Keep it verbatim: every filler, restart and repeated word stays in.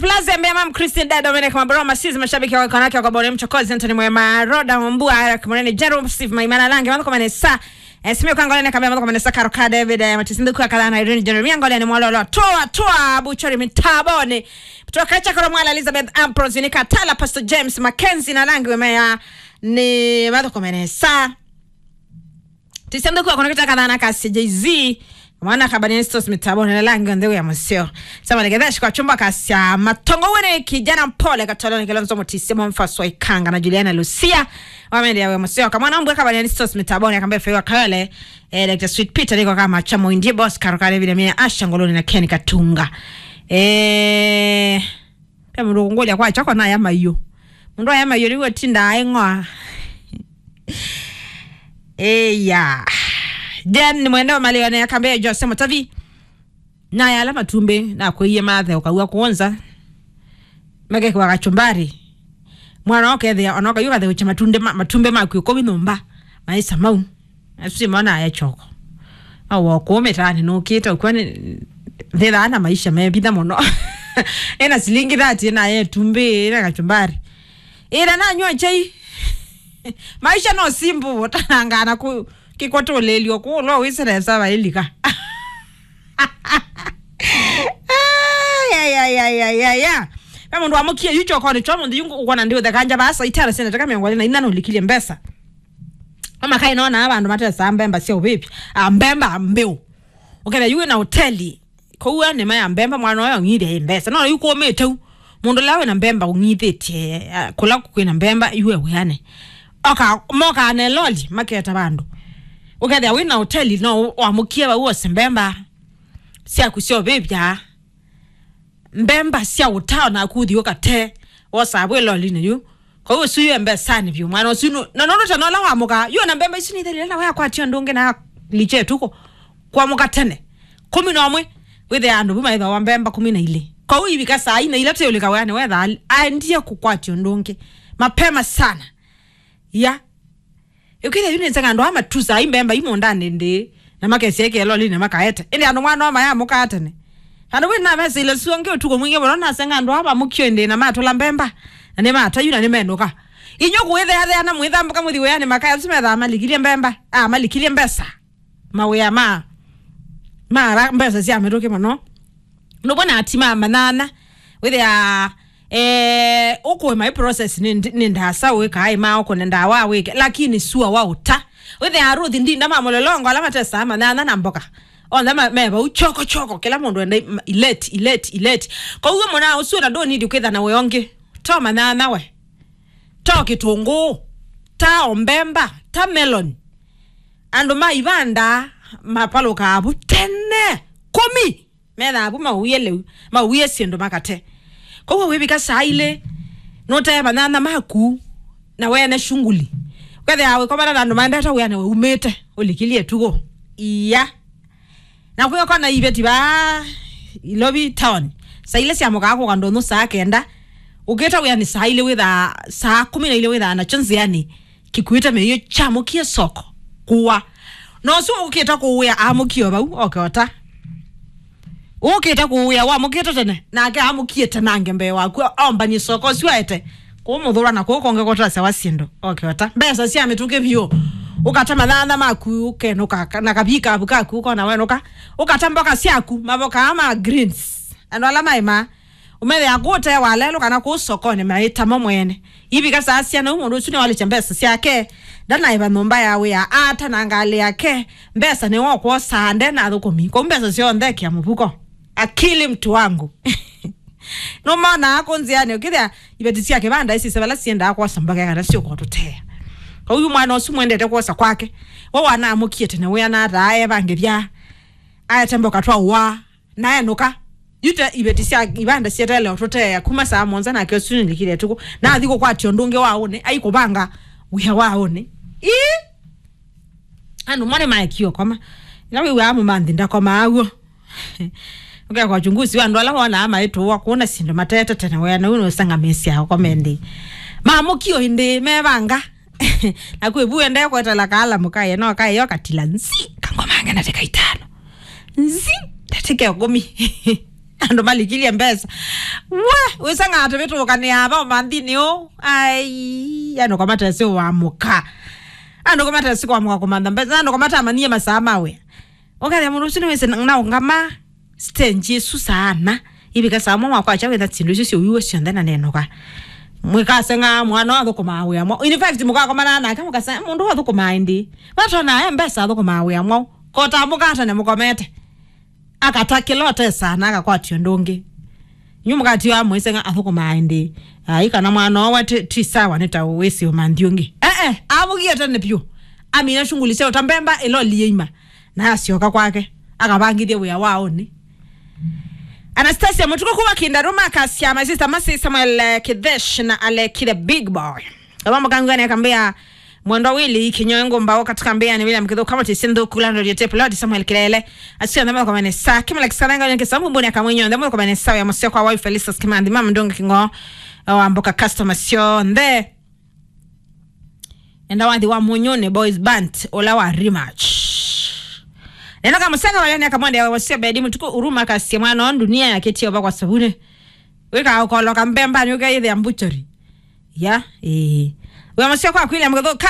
Plaza ya Mbeya, Mam Christine, Dad Dominic Maboro, Masizi, mashabiki wa wanawake wa Kabore, Mchokozi, Anthony Mwema, Roda Mbua, Eric Munene, Jerome, Steve Maimana, Lange, Mathuko Manesa, eh, Simio Kangole, Neka Mbeya, Mathuko Manesa, Karo Ka David, eh, Matisi Ndhuku, Akala na Irene, Jeremia Ngole, ni Mwalolo, Toa, Toa, Buchori, Mitabone, Toa Kacha, Karo Mwala, Elizabeth Ambrose, ni Katala, Pastor James, Mackenzie, na Lange, Wemea, ni Mathuko Manesa. Tisende kwa connecta kathana kasya Jay-Z. Mwana Kabaniani Stores Mitabone na Lange on the way ya museo. Sama legetha shikwa chumba kasya Matongo wene kijana mpole katoloni Kilonzo Mutisi Mfaswa Ikanga na Juliana Lucia. Wamende ya we museo. Kamwana mbwe Kabaniani Stores Mitabone akambe fewa kayole. Eh, Doctor Sweet Peter niko kama chamo indie boss Karo Ka David, Amina Asha Ngoloni na Ken Katunga. Eh, Pe mũndũ kũngũlya kwa choko na ya maiũ. Mũndũ aya maiũ nĩw'o tinda aing'oa. Eya. Jen nĩ mwende wa malĩone ya kambe Jose Mutavi. Na yala matumbĩ na kwĩie mathe ũkaw'a kuonza. Makekwa kachumbari. Mwana ũkethĩa ona ũkayũ katheũcha matumbĩ ma, matumbĩ maku ĩkũmi nyũmba. Maisa mau. Asu simona aye choko. Awo kũmĩtaanĩ nũkĩte ũkwani thĩthaa na maisha mevitha mũno. Ena silingi thirty na ye tumbĩ na kachumbari. Ĩla nanywa chai. Maisha no simple, tanangana ku kĩkwatũlĩlyo kũlwa wĩsĩlesa vailika. Ayayayayaya. Ve mũndũ wamũkie yu chokonĩ chwa mũndũ yu ũkwona ndiũtheka nja vaa saitara sina taka mĩongo ĩlĩ na ina nũlikilye mbesa. Mama kai nona ava andũ matesaa mbemba sya ũvĩvya. Ah, mbemba mbĩũ. Ũkethĩa yu wĩna hoteli. Kũu nĩma ya mbemba mwana ũyũ ũng'ithya ĩ mbesa. No yu kũmĩte u. Mũndũ ũla wĩna mbemba ũng'ithĩtye, ah, kũla kwĩna mbemba yu e wĩane. Oka, mokaa na loli maketa vandũ. Ũkethĩa wĩna hoteli no wamũkie vau ose mbemba syaku sya ũvĩvya. Mbemba sya ũtao na kuthi ũkate wosa vwĩ lolinĩ yu. Kwa hiyo ũsu yu e mbesanĩ vyũ mwana ũsu nu-, na nũndũ tena ũla wamũka yu na mbemba isu nithelile na waya kwatio ndũngĩ na liche tuko kwamũka tene kũmi na ũmwe. Wĩthĩa andũ vu maithawa mbemba kũmi na ilĩ. Kwa hiyo ivika saa ina ila teũlĩka wĩanĩ wetha aendie kũkwatio ndũngĩ mapema sana. Ya. Ĩkĩthya yu nĩnsenga andũ aa matusaa imbemba imũndanĩ ndĩ, na makesya ĩkĩa lolinĩ makaete. Ĩndĩ andũ mwana wa mayamũkaa tene. Andũ wĩ namesĩile sua ngĩ ũtukũ mwingĩ mũno nasenga andũ aa mamũkio ĩndĩ na matũla mbemba, na nĩmatayu na nĩmenũka. Inyu kũĩtheathea na mwĩthambũka mũthi wĩanĩ makaya asu methaa malikilye mbemba, a, malikilye mbesa. Mawĩa ma, ma ara mbesa sya mĩtũkĩ mũno. Nũvona ati ma manyanya, wĩthĩa, eh, ũkũe my process nĩ, nĩ ndasa wĩkaa ĩma ũkũne ndawa wĩke, lakini sua wa ũta. Wĩthĩa aruthi ndinda ma mũlolongo ala matesaa manyanya na mboka. Onthe ma, me vau choko choko, kĩla mũndũ enda i-, ileti, ileti, ileti. Kwoguo mũna ũsu na ndũnidi kwĩtha na wĩongi. To manyanya we. To kĩtũngũũ. Ta ombemba. Ta melon. Andũ ma ivanda mapalũkaa vu tene. Kũmi. Methaa vu mauie lĩu, mauie syĩndũ makate. Kwoguo wĩvika saa ilĩ, nũtee manyanya maku, na wene shunguli. Ũkethĩa wĩkomana na andũ maendete wĩanĩ waumĩte, ũlikilye tukũ. Iya. Na kwĩokona iveti vaa Ilovi town. Saa ilĩ syamũkaa kũka ndũnyũ saa kenda. Ũkĩte wĩanĩ saa ilĩ wĩthaa, saa kũmi na ilĩ wĩthaa nakyo nzĩanĩ. Kĩkuĩte mĩio kyamũkie soko. Kũwa. Na ũsu ũkĩte kũwĩa amũkie o vau, oke ota. Ũkĩte kũwĩa wamũkĩte tene, nake amũkie tene ange mbee waku, ombanie soko ũsu aete. Kũmũthũra na kũu kũngĩ kũtasya wa syĩndũ, oke ota. Mbesa sya mĩtũkĩ vyũ. Ũkata manyanya maku, ũkenũka, ka-, na kavikavu kaku, ũkona wenũka. Ũkata mboka syaku, mavokaa ma greens. Andũ ala maĩmaa. Ũmethĩa kũũ ũtee walelũ kana kũũ sokonĩ maĩtamo mwene. Ivika saa syana ũmũndũ ũsu nĩwalĩkya mbesa syake. Ndanaĩva nyũmba ya wĩa, ata na ngalĩ yake. Mbesa nĩwo kwosaa nde na athũkũmi. Kũu mbesa syonthe ekia mũvuko. Akili mtu wangu. Nũmonaa kũ nzĩanĩ ũkĩthĩa iveti sya kĩvanda isi vala siendaa kwosa mboka kana syũka ũtũtea. Kwoou mwana ũsu mwendete kwosa kwake. We wanamũkie tene wĩa na ataa evangĩthya. Aete mboka twaũaa. Na enũka. Yu te iveti sya ivanda syeteele ũtũteea kuma saa mũonza nake ũsu nĩlikile ĩtukũ. Na athi kũkwatya ũndũ ũngĩ wa ũnĩ, aikũvanga wĩa wa ũnĩ. Ii! Andũ mone maekio koma. Ila wĩw'aa mũmanthi ndakomaa w'o. Ũkekwa uchunguzi wa andũ ala wonaa maitũwa kũna syĩndũ matete tene wea na ũnĩ ũsanga mĩsyao kome nthĩ. Mamũkio ĩndĩ mevanga. Na kwĩ vu endee kwetela kaala mũkaye no kayo katila nzi kangomange na teka itano. Nzi, ndatĩka ĩkũmi. Andũ malikilye mbesa. We, wĩsanga atĩ wĩtũkanĩa ava ũmanthinĩ ũũ. Ai, andũ kwa matesi wa mũka. Andũ kwa matesi kwa mũka kũmantha mbesa. Andũ kwa matamanyie masaa ma wĩa. Ũkethĩa mũndũ ũsu nĩwĩsĩ na, na ũngama stage ĩsu saa ana. Ivika saa mwa wakwa acha wĩtha syĩndũ isu syũiwe syonthe na nenũka. Mwĩkaseng'a mwana athũkũmaa wĩa mwa. In fact, mũkakomana nake mũkaseng'a mũndũ athũkũmaa ĩndĩ. Vatona e mbesa athũkũmaa wĩa mwa. Kota mũkatane mũkomete. Akata kĩla ũtesa na akakwatio ũndũ ũngĩ. Nyu mũkatio amwĩseng'a athũkũmaa ĩndĩ. Ai, kana mwana owa ti, ti sawa nĩ ta wĩsĩ ũmanthi ũngĩ. Eh, eh, amũgie tene vyũ. Amina shughuli sya ũta mbemba ĩloli yĩima. Na asyoka kwake. Akavangithie wĩa wa ũnĩ. Anastasia Mũtuku kuwa Kindaruma akasya my sister Masi Samuel eh, Kithesh na Alekire Big Boy. Ava mũkangwene akambĩa Mwendwa Willy Kinyoe Ngumba wa katika mbea ni William Kithuka Mutisi Nthuku Landlord Yote Pilot Samuel Kilele. Asio na mako mene sa kimla kisananga ni kisambu mbuni akamwenyo nde mako mene sa ya musio kwa wife Felicitas Kimandi mama Ndunga Kingo wa mboka customer sio nde. Enda wathi wa Munyone Boys Band ola wa rematch. Neno kamuseka wale ni akamwende wa sio bedi mutuku uruma kasi mwana wa dunia ya keti oba kwa sabuni. Wika ukoloka mbemba ni ukaithe ambuchori. Ya, eh. Wa musio kwa kwile mgotho ka